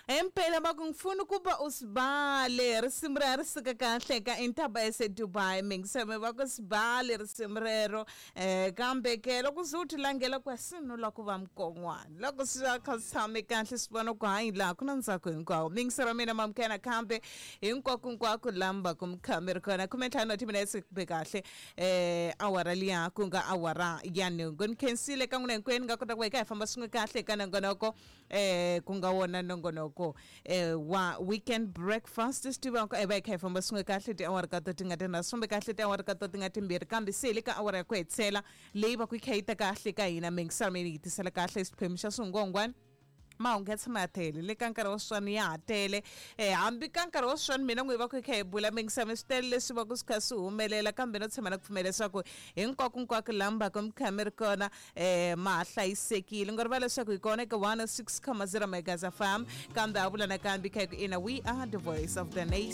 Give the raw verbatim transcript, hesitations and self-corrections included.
Impela va ku ngifuna ukuba usibale risimu ra ri suka kahle ka Intaba yaseDubai mingiseme va ku sibale risimu rero eh kambe ke loko ze u ti langela ku sinula ku va mukon'wana loko swi va kha swi tshame kahle swi vona ku hayi laha ku na ntsako hinkwawo mingisero mina mamukena kambe hinkwako hinkwako lamba ku mi ri kona khume ntlhanu wa timinetse kumbe kahle eh awara liya ku nga awara ya nhungu ni khensile ka n'wina hinkwenu nga kota ku va hi kha hi famba swin'we kahle eka nongonoko eh ku nga wona nongonoko eh wa weekend breakfast swi tiva ku va hi kha hi famba swin'we kahle tiawara ka to ti nga tinharhu swi fambe kahle tiawara ka to ti nga timbirhi kambe se hi le ka awara ya ku hetisela leyi va ku yi kha yi ta kahle ka hina mingiselo yi tisela kahle xiphemu xa swingongwani mahungu ya tshama ya tele le ka nkarhi wa sweswiwani ya ha tele um hambi ka nkarhi wa sweswiwani mina n'wi va ku hi kha hi bula mingisame swi tele leswi va ku swi kha swi humelela kambe no tshemba na ku pfumela leswaku hinkwako hinkwako laha mi va ka mi kha mi ri kona um ma ha hlayisekile ngo rivala leswaku hi kona eka one oh six comma zero megas fm kambe ha vula nakambe kha hi ku ina we are the voice of the nation.